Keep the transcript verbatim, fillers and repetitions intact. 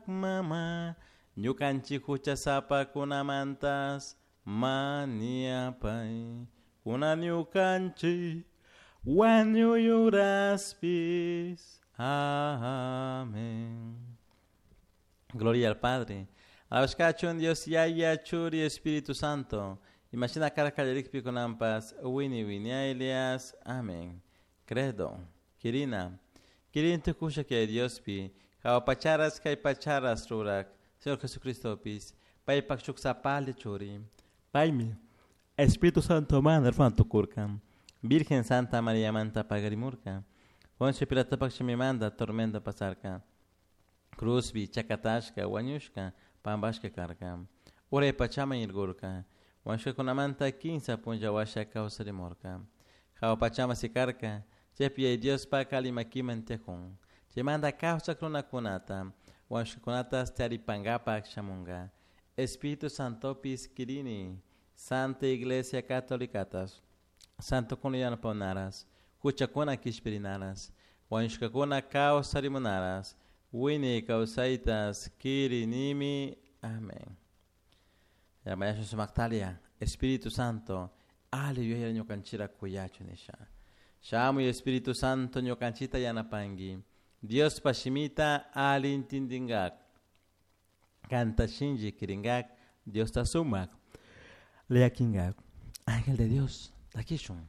Mama, ñukanchik huchasapakunamantas mañapay, kunan ñukanchik wañuy uraspis. Amén. Gloria al Padre. Alabashkachun Dios Yaya Churi Espíritu Santo. Imashina karka kallarikpi kunanpas wini winiaylias. Amén. Credo. Kirina. Kirin tukusha que Diospi. Jahua pacharas kay pacharas rurak. Señor Jesucristopis. Paypak shuk sapali churi. Paymi. Espíritu Santo manda tukurka. Virgen Santa María manta pagarimurka. Poncio Pilatopak shimimanta tormenta pasarka. Cruzbi chakatashka wañushka pampashka karka. Uray pachaman irgurka. Wañushkakunamanta kinsa punlla washa kawsarimurka. Jahua pachaman sikarka. Chaypi Yaya Diospak alli makiman tiyakun. Chaymanta kawsak runakunata wañushkakunata taripankapak shamunka. Espíritu Santopis kirini. Santa Iglesia Catolicatas. Santokuna yanapanaras. Huchakuna kishpirinaras. Wañushkakuna kawsarimunaras. Wiñay kawsaytas kirinimi. Amén. Mañashun sumaktalia. Espíritu Santo. Ali yuyay ñukanchira kuyachu nisha. Shamuy Espíritu Santo ñukanchita yanapanki. Diospa shimita ali intindingak. Kanta shinchi kiringak. Diosta sumak. Llakingak. Ángel de Dios, takishun.